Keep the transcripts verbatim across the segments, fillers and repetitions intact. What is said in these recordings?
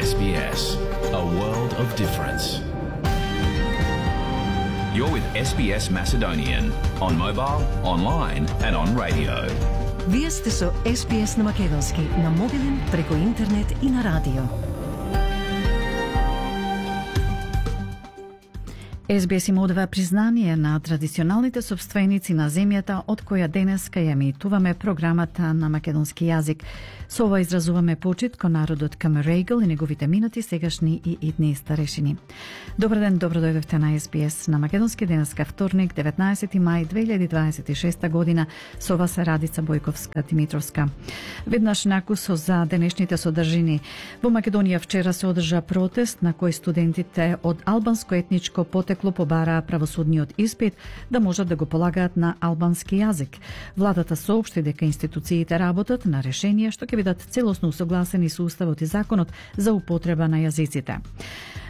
S B S, a world of difference. You're with S B S Macedonian on mobile, online and on radio. Вие сте со С Б С на македонски, на мобилен, преку интернет и на радио. С Б С им одава признание на традиционалните собственици на земјата од која денеска ја емитуваме програмата на македонски јазик. Со ова изразуваме почит кон народот Камерегл и неговите минати, сегашни и идни старешини. Добар ден, добро дојдовте на С Б С на македонски, денеска вторник, деветнаесети мај две илјади дваесет и шеста година. Со вас е Радица Бојковска-Димитровска. Веднаш накусо за денешните содржини. Во Македонија вчера се одржа протест на кој студентите од албанско етничко потекло побараа правосудниот испит да можат да го полагаат на албански јазик. Владата соопшти дека институциите работат на решенија што ќе бидат целосно усогласени со уставот и законот за употреба на јазиците.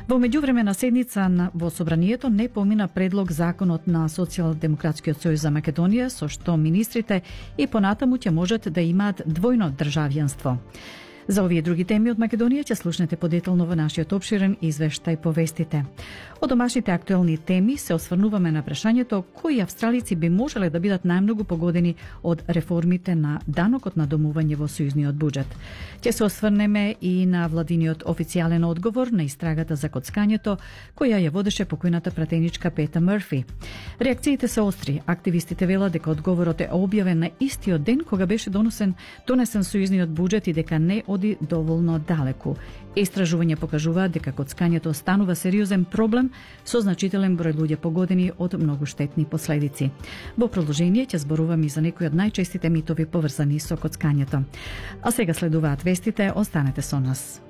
Во меѓувреме седница на, во Собранието не помина предлог законот на Социјалдемократскиот сојуз за Македонија, со што министрите и понатаму ќе можат да имаат двојно државјанство. За овие други теми од Македонија ќе слушнете подетално во нашиот опширен извештај по вестите. Од домашните актуелни теми се осврнуваме на прашањето кои австралици би можеле да бидат најмногу погодени од реформите на данокот на домување во сојузниот буџет. Ќе се осврнеме и на владиниот официјален одговор на истрагата за коцкањето која ја водеше покојната пратеничка Пета Мърфи. Реакциите се остри. Активистите велат дека одговорот е објавен на истиот ден кога беше донесен донесен сојузниот буџет и дека не оди доволно далеку. Истражувања покажуваат дека коцкањето станува сериозен проблем со значителен број луѓе погодени од многу штетни последици. Во продолжение ќе зборувам и за некои од најчестите митови поврзани со коцкањето. А сега следуваат вестите, останете со нас.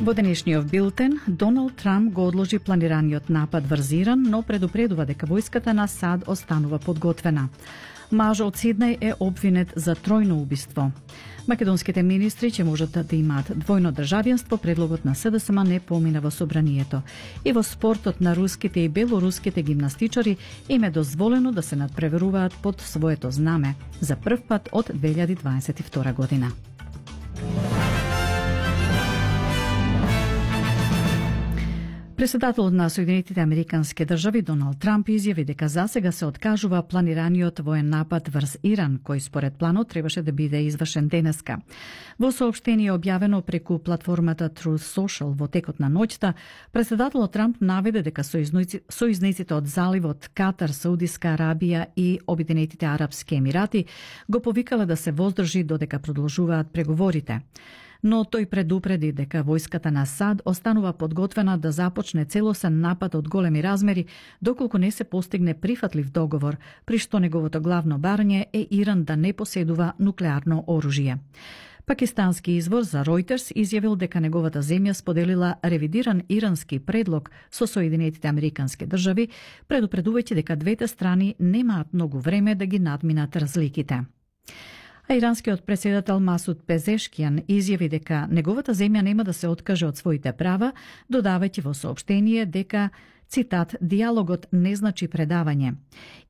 Во денешниот билтен, Доналд Трамп го одложи планираниот напад врз Иран, но предупредува дека војската на САД останува подготвена. Маж од Сиднеј е обвинет за тројно убиство. Македонските министри ќе можат да имаат двојно државјанство, предлогот на С Д С М не помина во Собранието. И во спортот на руските и белоруските гимнастичари им е дозволено да се надпреверуваат под своето знаме за прв пат од две илјади дваесет и втора година. Председателот на Соединетите Американски држави Доналд Трамп изјави дека засега се откажува планираниот воен напад врз Иран, кој според планот требаше да биде извршен денеска. Во соопштение објавено преку платформата Truth Social во текот на ноќта, председателот Трамп наведе дека сојузниците од заливот Катар, Саудиска Арабија и Обединетите Арапски Емирати го повикале да се воздржи додека продолжуваат преговорите. Но тој предупреди дека војската на САД останува подготвена да започне целосен напад од големи размери доколку не се постигне прифатлив договор, при што неговото главно барање е Иран да не поседува нуклеарно оружје. Пакистански извор за Reuters изјавил дека неговата земја споделила ревидиран ирански предлог со Соединетите Американски држави, предупредувајќи дека двете страни немаат многу време да ги надминат разликите. А иранскиот председател Масуд Пезешкијан изјави дека неговата земја нема да се откаже од своите права, додавајќи во соопштение дека, цитат, диалогот не значи предавање.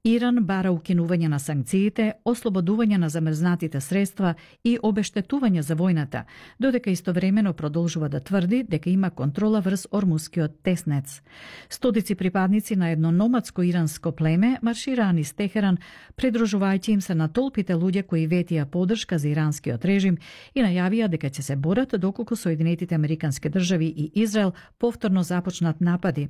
Иран бара укинување на санкциите, ослободување на замрзнатите средства и обештетување за војната, додека истовремено продолжува да тврди дека има контрола врз Ормускиот теснец. Стотици припадници на едно номадско иранско племе маршираа низ Техеран, придружувајќи им се на толпите луѓе кои ветија поддршка за иранскиот режим и најавија дека ќе се борат доколку Соединетите Американски држави и Израел повторно започнат напади.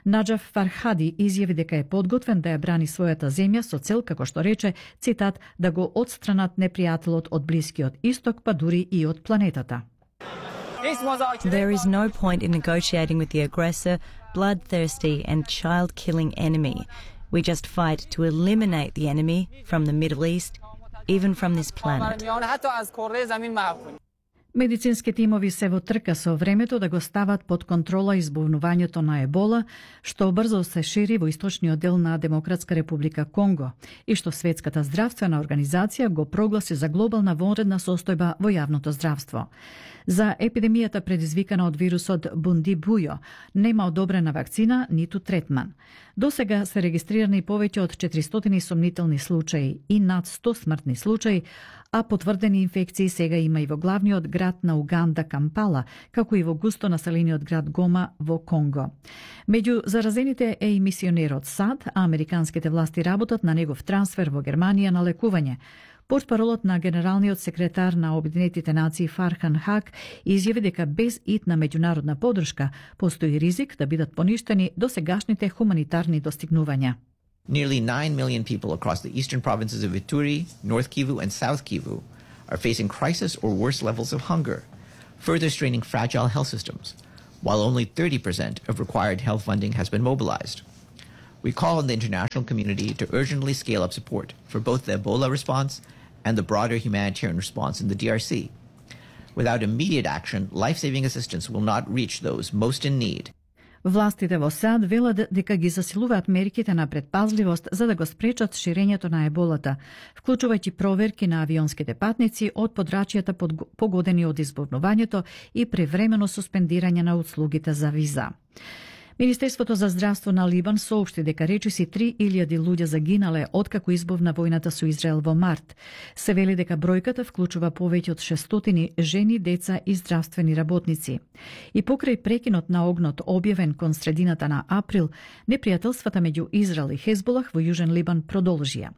Наџаф Фархади изјави дека е подготвен да ја брани својата земја со цел, како што рече, цитат, да го отстранат непријателот од Блискиот Исток, па дури и од планетата. There is no point in negotiating with the aggressor, bloodthirsty and child-killing enemy. We just fight to eliminate the enemy from the Middle East, even from this planet. Медицински тимови се во трка со времето да го стават под контрола избувнувањето на ебола, што брзо се шири во источниот дел на Демократска република Конго и што Светската здравствена организација го прогласи за глобална вонредна состојба во јавното здравство. За епидемијата предизвикана од вирусот Бундибујо нема одобрена вакцина ниту третман. Досега се регистрирани повеќе од четиристотини сомнителни случаи и над сто смртни случаи, а потврдени инфекции сега има и во главниот град на Уганда Кампала, како и во густо населениот град Гома во Конго. Меѓу заразените е и мисионерот САД, а американските власти работат на негов трансфер во Германија на лекување. Портпаролот на генералниот секретар на Обединетите нации Фархан Хак изјави дека без итна меѓународна поддршка постои ризик да бидат поништени досегашните хуманитарни достигнувања. Nearly nine million people across the eastern provinces of Ituri, North Kivu, and South Kivu are facing crisis or worse levels of hunger, further straining fragile health systems, while only thirty percent of required health funding has been mobilized. We call on the international community to urgently scale up support for both the Ebola response and the broader humanitarian response in the D R C. Without immediate action, life-saving assistance will not reach those most in need. Властите во САД велат дека ги засилуваат мерките на предпазливост за да го спречат ширењето на еболата, вклучувајќи проверки на авионските патници од подрачјата погодени од избувнувањето и превремено суспендирање на услугите за виза. Министерството за здравство на Либан соопшти дека речиси три илјади луѓе загинале откако избувна војната со Израел во март. Се вели дека бројката вклучува повеќе од шестстотини жени, деца и здравствени работници. И покрај прекинот на огнот објавен кон средината на април, непријателствата меѓу Израел и Хезболах во Јужен Либан продолжија.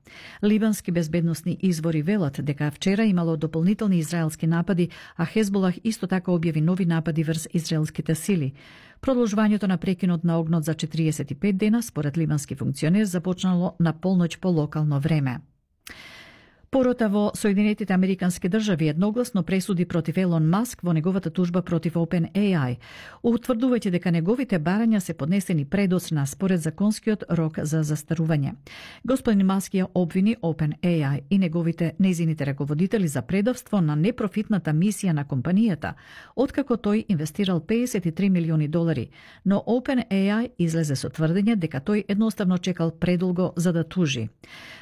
Либански безбедносни извори велат дека вчера имало дополнителни израелски напади, а Хезболах исто така објави нови напади врз израелските сили. Продолжувањето на прекинот на огнот за четириесет и пет дена, според либански функционер, започнало на полноќ по локално време. Порота во Соединетите Американски држави едногласно пресуди против Елон Маск во неговата тужба против OpenAI, утврдувајќи дека неговите барања се поднесени предосна според законскиот рок за застарување. Господин Маск ја обвини OpenAI и неговите нејзините раководители за предавство на непрофитната мисија на компанијата, откако тој инвестирал педесет и три милиони долари, но OpenAI излезе со тврдење дека тој едноставно чекал предолго за да тужи.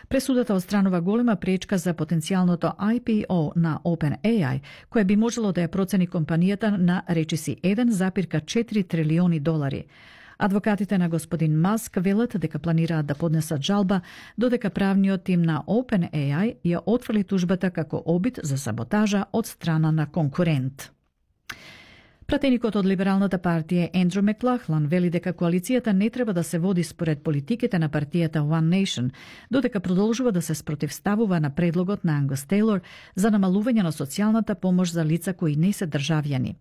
Пресудата одстранува голема пречка за потенцијалното I P O на OpenAI, која би можело да ја процени компанијата на речиси еден зарез четири трилиони долари. Адвокатите на господин Маск велат дека планираат да поднесат жалба, додека правниот тим на OpenAI ја отфрли тужбата како обид за саботажа од страна на конкурент. Пратеникот од Либералната партија Ендрю Маклахлан вели дека коалицијата не треба да се води според политиките на партијата One Nation, додека продолжува да се спротивставува на предлогот на Ангус Тейлор за намалување на социјалната помош за лица кои не се државјани.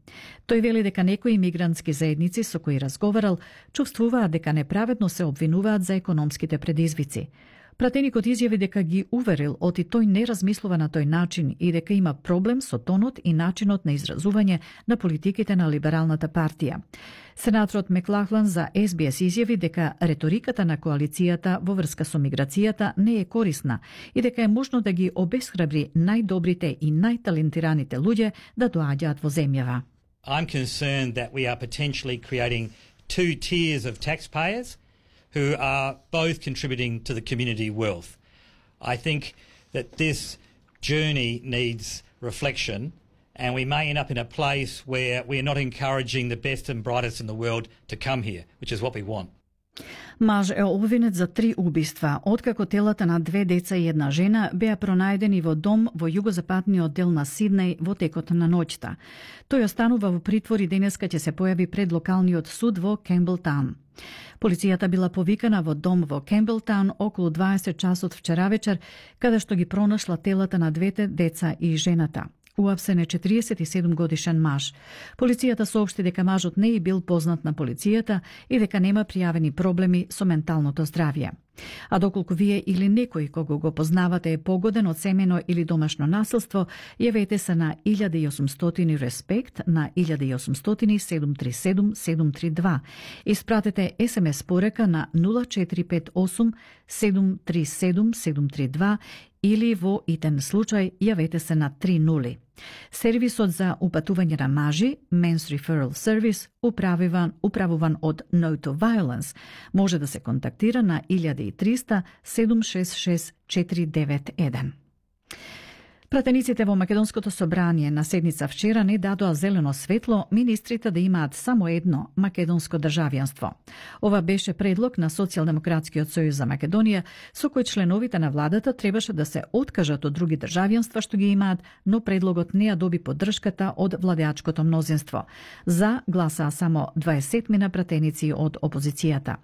Тој вели дека некои имигрантски заедници со кои разговарал чувствуваат дека неправедно се обвинуваат за економските предизвици. Пратеникот изјави дека ги уверил оти тој не размислува на тој начин и дека има проблем со тонот и начинот на изразување на политиките на Либералната партија. Сенаторот Маклахлан за Ес Би Ес изјави дека реториката на коалицијата во врска со миграцијата не е корисна и дека е можно да ги обесхрабри најдобрите и најталентираните луѓе да доаѓаат во земјава. I'm concerned that we are potentially creating two tiers of taxpayers who are both contributing to the community wealth. I think that this journey needs reflection, and we may end up in a place where we are not encouraging the best and brightest in the world to come here, which is what we want. Маж е обвинет за три убиства, откако телата на две деца и една жена беа пронајдени во дом во југозападниот дел на Сиднеј во текот на ноќта. Тој останува во притвор и денеска ќе се појави пред локалниот суд во Кемблтаун. Полицијата била повикана во дом во Кемблтаун околу дваесет часот вчера вечер, каде што ги пронашла телата на двете деца и жената. Уапсен е четириесет и седум годишен маж. Полицијата соопшти дека мажот не е бил познат на полицијата и дека нема пријавени проблеми со менталното здравје. А доколку вие или некој кого го познавате е погоден од семено или домашно насилство, јавете се на илјада и осумстотини респект на илјада и осумстотини седум три седум седум три два. Испратете ес ем ес порака на нула четири пет осум седум три седум седум три два или во итен случај јавете се на три нули. Сервисот за упатување на мажи, Men's Referral Service, управуван, управуван од No to Violence, може да се контактира на илјада и триста седум шест шест четири девет еден. Пратениците во Македонското собрание на седница вчера не дадоа зелено светло министрите да имаат само едно македонско државјанство. Ова беше предлог на Социјалдемократскиот сојуз за Македонија, со кој членовите на владата требаше да се откажат од други државјанства што ги имаат, но предлогот не ја доби поддршката од владеачкото мнозинство. За гласаа само дваесет пратеници од опозицијата.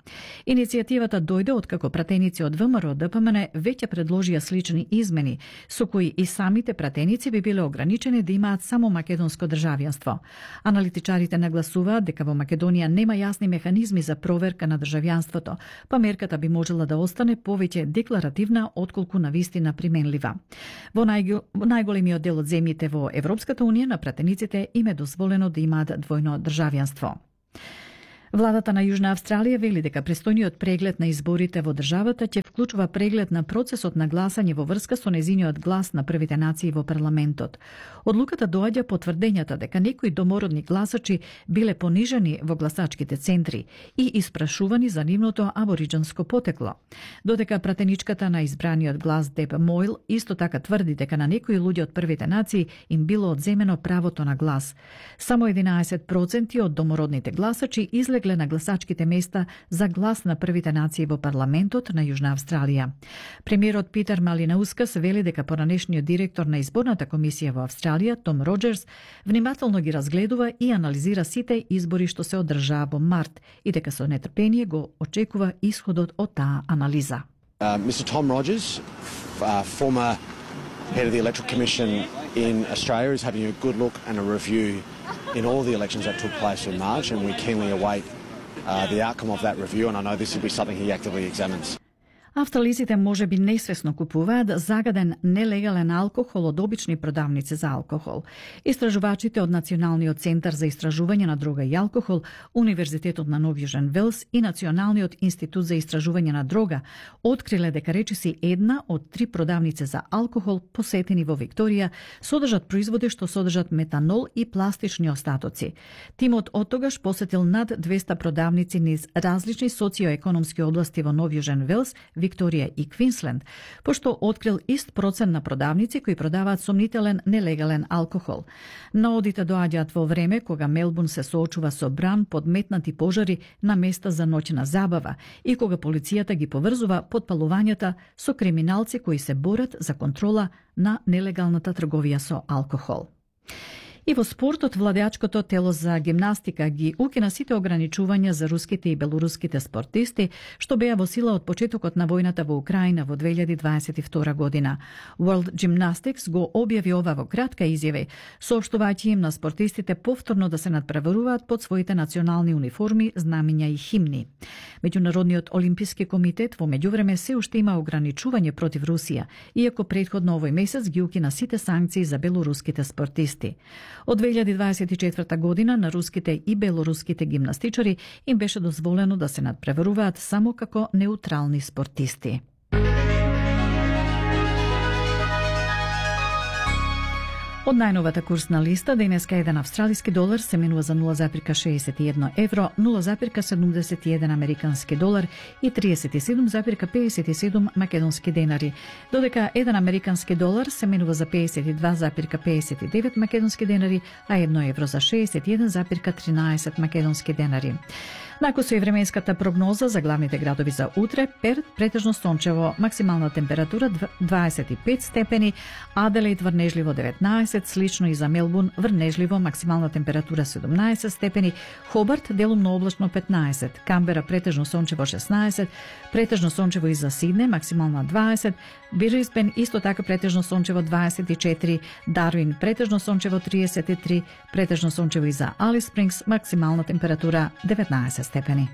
Иницијативата дојде откако пратеници од ВМРО Д П М Н веќе предложија слични измени, со кои и сами Самите пратеници би биле ограничени да имаат само македонско државјанство. Аналитичарите нагласуваат дека во Македонија нема јасни механизми за проверка на државјанството, па мерката би можела да остане повеќе декларативна отколку навистина применлива. Во најго, најголемиот дел од земјите во Европската унија на пратениците им е дозволено да имаат двојно државјанство. Владата на Јужна Австралија вели дека престојниот преглед на изборите во државата ќе вклучува преглед на процесот на гласање во врска со незиниот глас на првите нации во парламентот. Одлуката доаѓа по тврдењата дека некои домородни гласачи биле понижени во гласачките центри и испрашувани за нивното абориџанско потекло. Додека пратеничката на избраниот глас Деб Мойл исто така тврди дека на некои луѓе од првите нации им било одземено правото на глас. Само единаесет проценти од домородните гласачи излегле на гласачките места за глас на првите нации во парламентот на Јужна Австралија. Премиерот Питер Малинаускас вели дека поранешниот директор на изборната комисија во Австралија, Том Роџерс, внимателно ги разгледува и анализира сите избори што се одржаа во март и дека со нетрпение го очекува исходот од таа анализа. Uh, Mister Tom Rogers, uh, former head of the Electoral Commission in Australia, is having a good look and a review in all the elections that took place in March, and we keenly await uh, the outcome of that review, and I know this will be something he actively examines. Австралиците може би несвесно купуваат загаден нелегален алкохол од обични продавници за алкохол. Истражувачите од Националниот центар за истражување на дрога и алкохол, Универзитетот на Нов Јужен Велс и Националниот институт за истражување на дрога откриле дека речиси една од три продавници за алкохол посетени во Викторија содржат производи што содржат метанол и пластични остатоци. Тимот оттогаш посетил над двесте продавници низ различни социоекономски области во Нов Јужен Велс, Викторија и Квинсленд, пошто открил ист процент на продавници кои продаваат сомнителен нелегален алкохол. Наодите доаѓаат во време кога Мелбурн се соочува со бран подметнати пожари на места за ноќна забава и кога полицијата ги поврзува подпалувањата со криминалци кои се борат за контрола на нелегалната трговија со алкохол. И во спортот, владеачкото тело за гимнастика ги укина сите ограничувања за руските и белоруските спортисти, што беа во сила од почетокот на војната во Украина во две илјади дваесет и втора година. World Gymnastics го објави ова во кратка изјава, соопштувајќи им на спортистите повторно да се надпреваруваат под своите национални униформи, знамиња и химни. Меѓународниот олимписки комитет во меѓувреме се уште има ограничување против Русија, иако претходно овој месец ги укина сите санкции за белоруските спортисти. Од две илјади дваесет и четврта година на руските и белоруските гимнастичари им беше дозволено да се надпреваруваат само како неутрални спортисти. Од најновата курсна листа, денеска еден австралиски долар се менува за нула зарез шеесет и едно евро, нула зарез седумдесет и еден американски долар и триесет и седум зарез пеесет и седум македонски денари, додека еден американски долар се менува за пеесет и два зарез пеесет и девет македонски денари, а едно евро за шеесет и еден зарез тринаесет македонски денари. Нако со и временската прогноза за главните градови за утре: Перт претежно сончево, максимална температура дваесет и пет степени, Аделаид врнежливо деветнаесет, слично и за Мелбурн врнежливо, максимална температура седумнаесет степени, Хобарт делумно облачно петнаесет, Камбера претежно сончево шеснаесет, претежно сончево и за Сидне, максимална дваесет, Брисбен исто така претежно сончево дваесет и четири, Дарвин претежно сончево триесет и три, претежно сончево и за Алис Спрингс, максимална температура деветнаесет степени.